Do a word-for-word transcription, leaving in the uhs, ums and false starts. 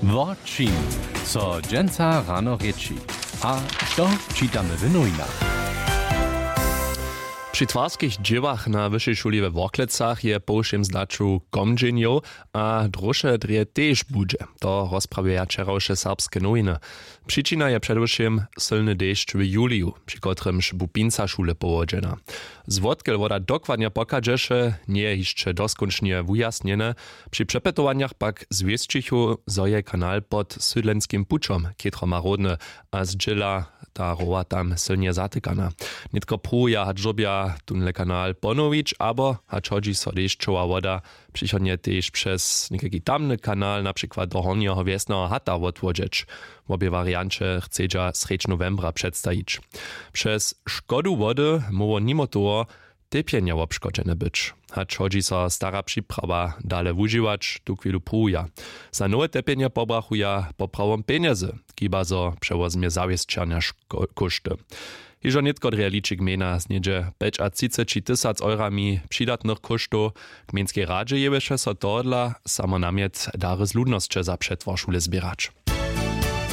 Wo čim so dźensa rano rěči a što čitamy w nowinach? Při twarskich dźěłach na wyšej šuli we Worklecach je po wšěm zdaću komdźenjow a dróše drje tež budźe. To rozprawjeja wčerawše Serbske nowiny. Přičina je předewšěm sylny dešć w juliju, při kotrymž bu pinca šule powodźena. Zwotkel woda dokładnje pochadźeše, njeje hišće doskónčnje wujasnjene. Při přepytowanjach pak zwěsćichu, zo je kanal pod sydlenskim pućom chětro marodny a zdźěla ta rowa tam sylnje zatykana. Nětko pruwuja, hač dyrbja tónle kanal ponowić abo hač hodźi so dešćowa woda přichodnje tež přez někajki tamny kanal, na přikład do hornjeho wjesneho hata, wotwodźeć. Wobě warianće chcedźa srjedź nowembra předstajić. Přez škodu wody móhło nimo toho tepjenje wobškodźene być, hač hodźi so stara připrawa dale wužiwać, tuchwilu pruwuja. Za nowe tepjenje pobrachuja poprawom pjenjezy, kiba zo přewozmje zawěsćerna kóšty. Hižo nětko drje liči gmejna z něhdźe pjećatřiceći tysac eurami přidatnych kóštow. W gmejnskej radźe jěłyše so tohodla samo namjet dary z ludnosće za přetwar šule zběrać.